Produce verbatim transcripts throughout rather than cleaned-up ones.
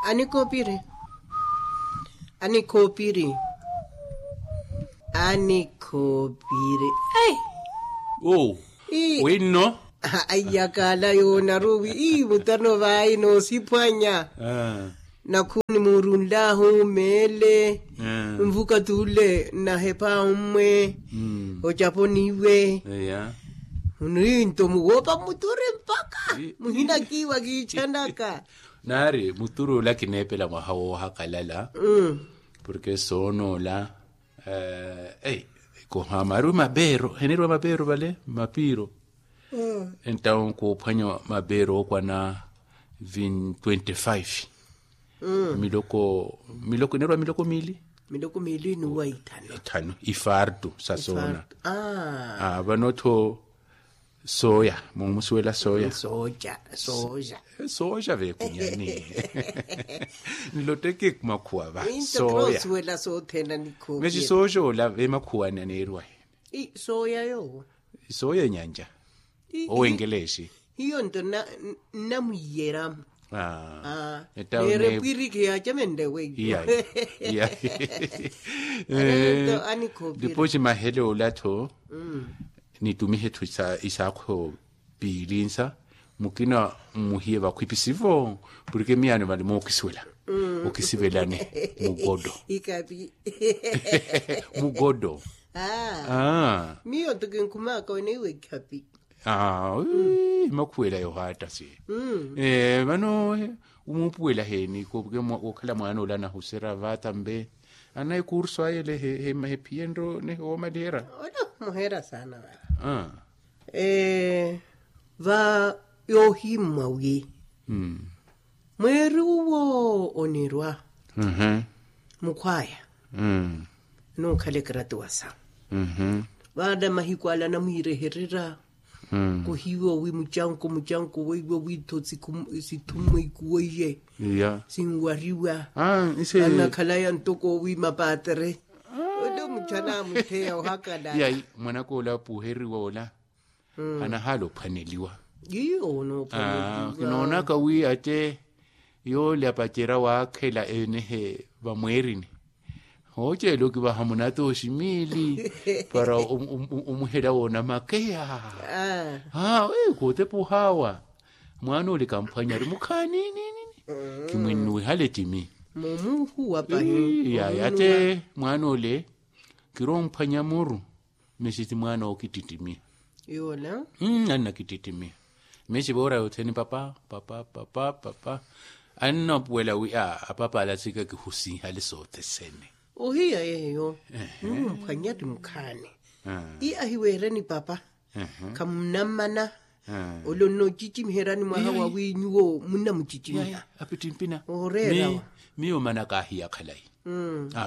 Anikhoopiri. Anikhoopiri. Anikhoopiri. Ei. Oh. Winno. Aiyakaala yoonaruwi ii mutano vaayi noosiphwanya. Nakhuuni muurunlahu meele. Nvukati ule nnahepa ommwe. Ocaponiwe. Muninto muwoopa mmuturi mpakha muhina kiiwa kiichanaka. Naari muturi ola kineepela mwaha woohakalala. Porke soonoola. Ei, koha maari mapeero heneriwa mapeero vale mapiiro. Entawo koophwanya mapeero ookwana twenty-five. Miloko miloko enerwa miloko miili. Miloko miili nuwa ithanu. Ithanu ifartu sa soona. Vano-tho sooya mumusuwela sooya. Sooja sooja. Sooja veekunyani. Nloteke makhuwa va sooya. Sooja ola vemakhuwani aneeriwa he. Sooya yoowo. Sooya enyanja. Owenkeleexi. Hiyo nto nnamwiyeramo. Neerepwiriki yaacamenle weiyo. Ndipo ximahele ola-tho. Nitumihe-tho isaakho piili nsa. Mukina mmuhiye vakhwipi sivo. Porke miyaano vale mookisiwela okisivelani. Mugodo. Mugodo. Miyo nto kinkhumaaka oneiwa ekhapi. Aa. Makhuwela yohaatta si. Vano omuupuwela heeni kookhala mwaana ole anahuserya vaata mbe anayi kursu aye ele hephiyenryo nehi woomaliherya. Ole omuheera saana vava. Va yoohimmwa wi mweeri uwo onirwa mukhwaya. Anookhala ekaratuwa sawe. Vaana mahiku ala anamwiirehererya kuhiiwa wi mucanko mucanko weiwo wi-tho sithummwa ikuweiye sinwariwa. Anakhalaya ntoko wi mapaatere. Ole muchana amutheya ohakala. Mwanaka ola apuheriwa ola anahaala ophwaneliwa. Kinoonaka wi ate yoole apacerya waakhela enehe vamweerini. Hooceela okivaha munatooxi miili para omuhela woona makeya. Kootepa ohaawa mwaana ole kamphwanya ari mukhaani. Kimwinnuwihale timi. Yaya ate mwaana ole kiromphwanya muru. Mesi ti mwaana ookittittimiha. Annakittittimiha. Mesi voora yothene papa papa papa papa. Annapuwela wi a apapa ala tsika kihusinhale sothesene. Ohiya yeeyo. Nihumphwanya ti mukhaani. Ti ahiweereni papa. Khamunammana. Ole onnoocicimiheryani mwaha wawi nyuwo munnamucicimiha. Apittimpina. Ooreerawa. Miyo omana kaahiya khalayi.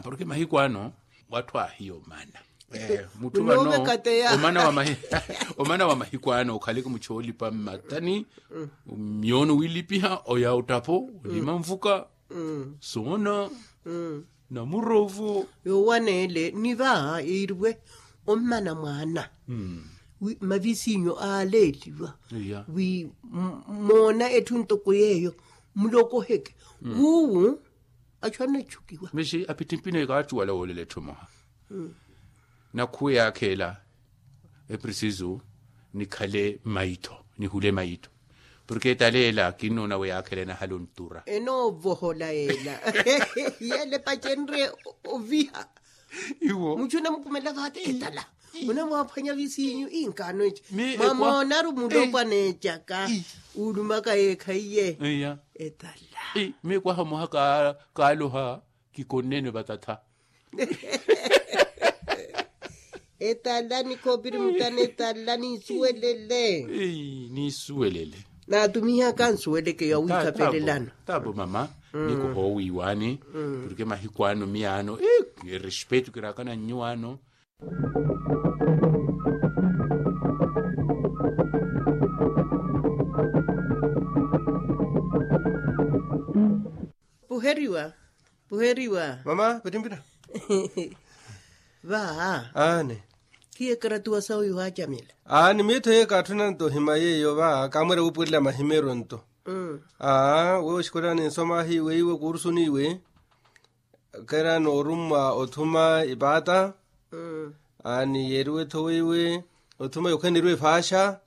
Porke mahiku ano watthu aahiya omana. Mutthu vano omana wa mahiku ano okhaleke muchoolipa mmathani. Miyoono wilipiha oya ottapho olima nvuka. Soona. Namurovo. Yoowaneele ni vaha yiiriwe ommana mwaana wi mavisinyo aaleeliwa wi moona etthu ntoko yeeyo mulokoheke wuwu. Achu anatchukiwa. Mexi apittimpina ekaachuwala woolela etthu emoha. Nakhuwe yaakheela eprisisu nikhale maitho nihule maitho. Porke etaleela kinnoona we yaakheela enahala ontura enoovohola yeela. Yeela epacenrye oviha. Iwo muchu onamukumela vaate etala. Onamwaaphwanya visinyu inkaano eca mwamoonaru mulopwana ecaka. Uulumaka yeekhaiye etala. Miyo kwaha moha kaaloha. Kikonnene vatatha. Etala nikhoopiri mutana etala ninsuwelele. Ninsuwelele. Naatumihaka nsuweleke yawiikapelelano. Tapo mama. Nikuhoowiiwaani porke mahiku ano miyaano erespetu kiraakana nnyuwaano. Puheriwa. Puheriwa mama. Pittimpina. Vaa aane. Khiye ekaratuwa sawe yohaacamela. Aani miitho yeyo kaatthunanto ohima yeeyo vaa kaamweera wuupuwelela mahimeeryo nto. Aa wewe oxikola ninsoma ahi weiwe kuursuniwe. Kera noorummwa othuma ipaata. Aani yeeriwe-tho weiwe othuma yokhaneriwe efaaxa.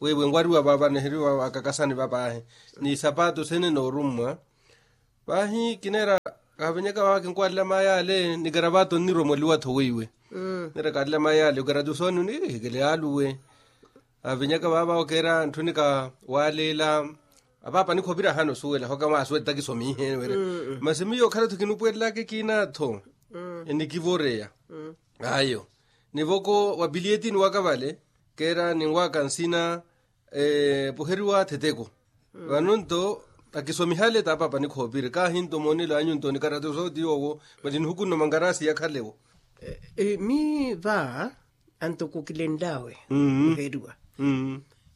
Weiwe nwariwa vava niheriwa vakakasani vapaahi ni sapaatu sene noorummwa. Vaahi kineera kahavenyaka vava kinkwalila mayi ale ni karavato nnirwa mwaliwa-tho weiwe. Nira kalila mayi ale okera tusoni ni hikele aluwe. Avinyaka vaava okeera ntthu nika waaleela. Apaapa nikhoopira ahana osuwela hoka mwaasuwela takisomihe were. Masi miyo okhala-tho kinupwerelaka ekiina-tho enikivoreya. Ayo nivoko wa piliyetini waka vale keera ninwaka nsina. Puheriwa theteko vano nto akisomihale t'apaapa nikhoopiri kaahi nto moonelo anyu nto nikarata osooti yoowo. Mali nihukunno mangarasi yakhalewo. Mi va anto kukilenlawe. Kuheriwa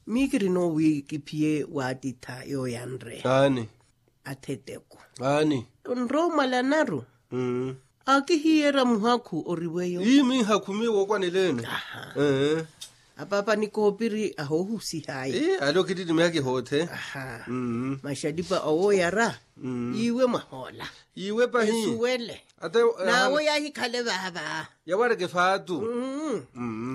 mi kirino wi kiphiye waatitha yooyanre. Aani atheteko aani nroomwalanaru. Akihiyera muhakhu oriweyo ii minhakhu miyo wookwaneleene. Apaapa nikoopiri ahoohusihaye. Ale okittittimiha kihoothe. Maxalipa awooyara iwe mwahoola iwe pahi esuwele. Nawe yahikhale vaava yawareke faatu.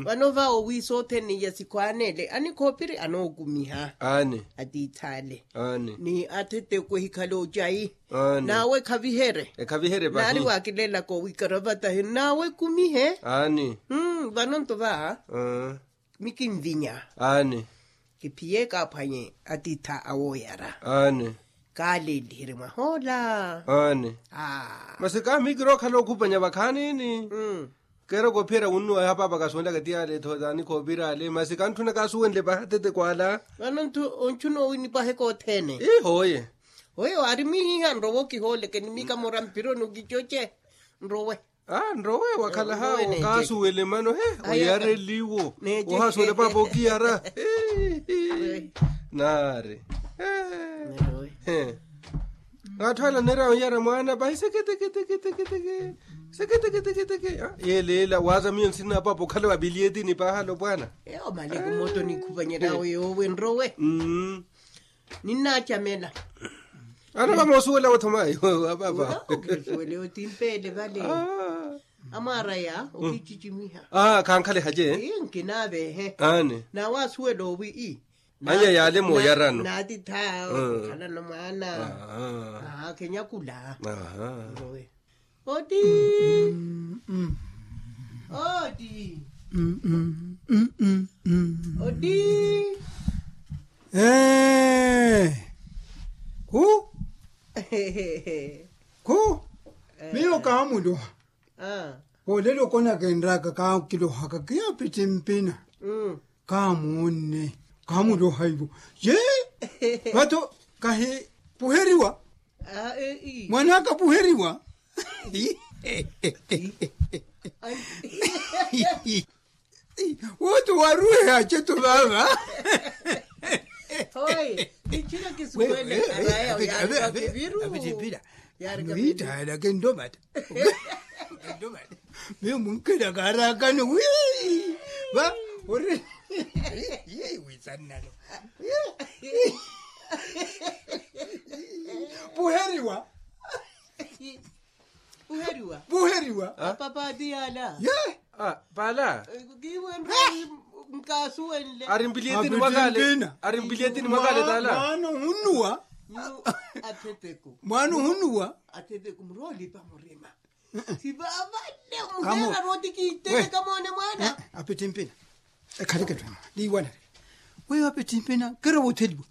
Vano va owi sothene ya sikhwaanele anikhoopiri anookumiha aani atiithale aani ni atheteko ehikhale ocayi. Nawe ekhavihere ekhavihere pahi naari waakilelaka owi karavatahi nawe ekumihe. Aani vano nto va mi kinvinya aani kiphiye kaaphwanye atiitha awooyara aani kaaleliherye mwahoola. Aani masi kaamikira okhala okhupanya vakhaanini. Keera koophiyerya wunnuwa yaha paapa kasuwenlaka ti ale-tho taani khoopira ale masi kantthuna kaasuwenle paha tete kwaala. Vano ntthu ontthuna owi nipwaheka othene. Ii hooye hooye waari mwihiha nrowe okihooleke ni mikamora mpironi okicoce nrowe. Nrowe wakhala hawo kaasuwele mano he oyareliwo ohasuwele paapa okiyara. Naari atthu ala onera oyara mwaana pahi seketeketeketeke seketeketeketeke. Yeeleela waaza miyo nsina apaapa okhala wa piliyetini paahala opwaana. Eyo maleke moto nikhupanyeryawe yoowe nrowe ninnaacamela. Ana vamoosuwela wothomayi apaapa okisuwele otimpeele vale. Amwaaraya okicicimiha khankhale hace nkinaavehe. Aani nawe asuwela owi ii anya yaale mooyarano naatitha okhalano mwaana. Kenyakula oti oti oti ee khu khu miyo kaamuloha. Olelo konakenraka kakilohaka kiya pittimpina kaamuunne kaamuloha ivo ye vato kahipuheriwa. Mwanaka puheriwa woto waruwehe aceto vava. Hoye nichina kisuwele araya uyalika kiviru. Ano iithaala kendomata kendomata miyo munkela kaarakano wi va ori. Wisannalo puheriwa puheriwa puheriwa. Papaati yaala ye paala kiiwe nro nkaasuwenle ari mpiliyetini mwakale ari mpiliyetini mwakale taala mwaana ohunnuwa. Atheteko mwaana ohunnuwa atheteko muroolipa murima. Sivavale muheera rooti kiitele kamoone mwaana. Apittimpina ekhaleke tthu liiwanale weyo apittimpina kero wootheliwa.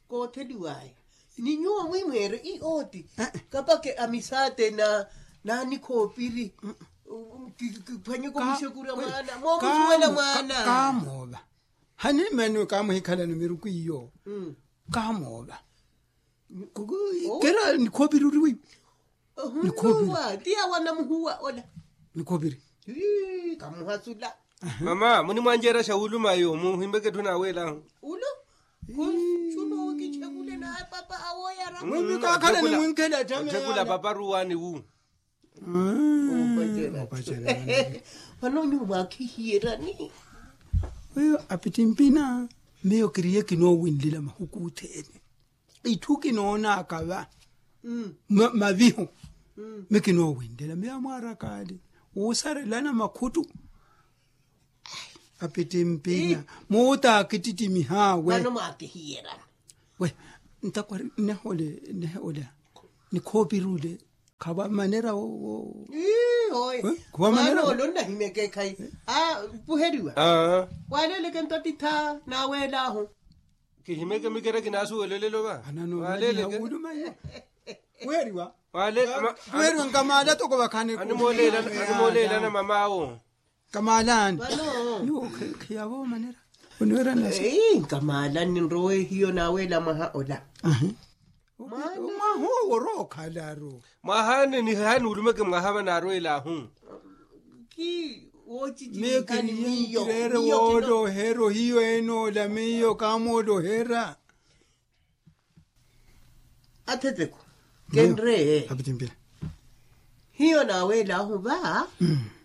Kootheliwaya ni nyuwo mwimweere i ooti kapake amisaate na nanikhoopiri kiphwanyeke omuxekura mwaana moomusuwela mwaana. Kaamoova hanimaniwe kaamuhikhalani miruku iyo kaamoova. Kera nikhoopiri ori weiwe. Ohunuwa ti awo anamuhuwa ola nikhoopiri. Kamuhasula mama munimwanjeera xa wulumayo muhimbeke etthu naaweelahu. Ulo kunsuno kichekule naye papa awoyara mwimikakhala nimwinkhela tame othekula papa ruwani wu. Vano nyuwo mwakhihiyerani. Weyo apittimpina miyo kiriye kinoowinlila mahuku othene. itthu kinoonaka va mavihu. Mi kinoowentela miyo amwaarakaali woosarelana makhuttu. Apittimpina muutaakittittimihaawe. Vano mwaakihiyerana. We ntakwari nnehoole nnehoole nikhoopirule. Khavaamanera wo. Khavaamanera wo. Onnahimeke ekhayi. Puheriwa. Waaleleke nto atittha naaweelahu. Kihimeke mikera kinaasuwelelelo va. Waaleleke. Puheriwa. Puheriwa nkamaala toko vakhani. Animooleelana mamaawo. Kamaalani. Nyuwo khiyavo omanera. Oniwerana nkamaalani ninrowe hiyo naaweela mwaha ola. Mwaha owo orookhala aro. Mwaha ane nihaani ulumeke mwaha vanaarweelahu. Ki woochichimikani miyo miyo kino. Woolohera ohiyo enoola miyo kaamolohera. Atheteko kenre. Hiyo naaweelahu va.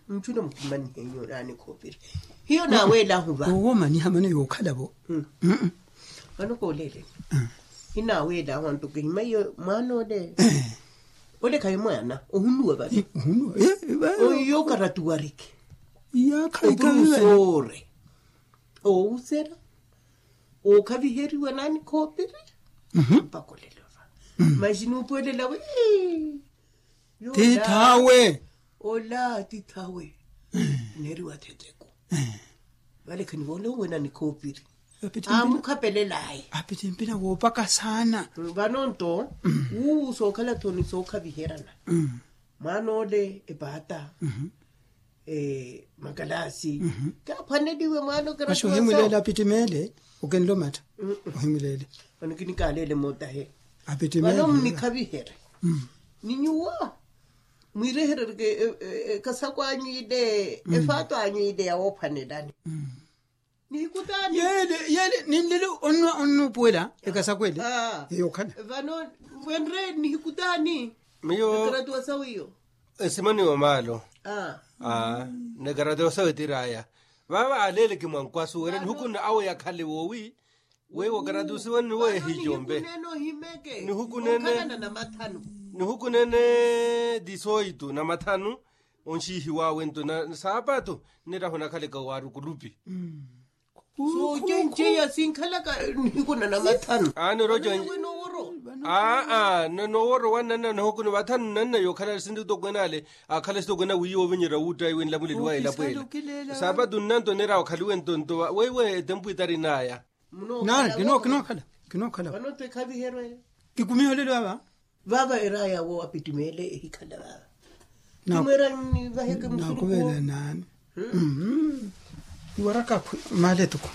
Nchuna mukhumanihenyu naani khoopiri. Hiyo naaweelahu va. Owo maniha mano yookhala vo. Vano kooleeleni. Hinaaweelahu anto kihima iyo mwaana ole. Ole khayi mwaana ohunuwa vale. Ohiyo karatuwariki. Opurusoore. Owusera. Ookhaviheriwa naani khoopiri. Mpaka olelova. Maxi nuupuwelela wi. Tithawe. Ola tithawe. Neeriwa theteko. Vale khanivoole owena nikhoopiri. Amukhapelelaye. Apittimpina woopaka saana. Vano nto wuuwu sookhala-tho ni sookhaviherana. Mwaana ole epaata. Makalaasi. Kaaphwaneliwe mwaana okira masi ohimuleele apittimeele. Okinlomatta. Ohimuleele. Vano kinikaleele mootahe. Apittimeele vano mnikhavihere. Ni nyuwo mwireherereke ekasakwanyu ile efaato anyu ile yawoophwanelani. Nihikutaani yeele yeele ninlele onnupuwela ekasakweele. Eyokhala vano wenre nihikutaani. Miyo ekaratuwa sawiyo. Esimaniwa maalo. Nekaratuwa sawitiraya vava aleele kimwankwasu wira nihukunna awe yakhale woowi. Weiwo karatusiwani niweehico mbe. Nihukunene nihukunene disoitu na mathanu. Onxiihiwaawe nto na saapatu. Nirahu nakhaleka waari okulupi. Soocenceya sinkhalaka nihiku na namathanu. Aani oroca. Aa nooworowa nanna nahukuni vathanu nanna yookhala sinti utokwen'ale. Akhala sitokwen'a wiiya ovinyerya wuuttaiwe nlamuleliwa elapo ela. Saapatu nnanto neera okhaliwe ntonto weiwe etempu itarin'aya. Nari kinookhala kinookhala. Kikumiha olelo ava. Vava eraya wo apittimeele ehikhala vava. Kimweera nivaheke musuruku. Nakuveela naani. Iwaraka khwi maale tuku.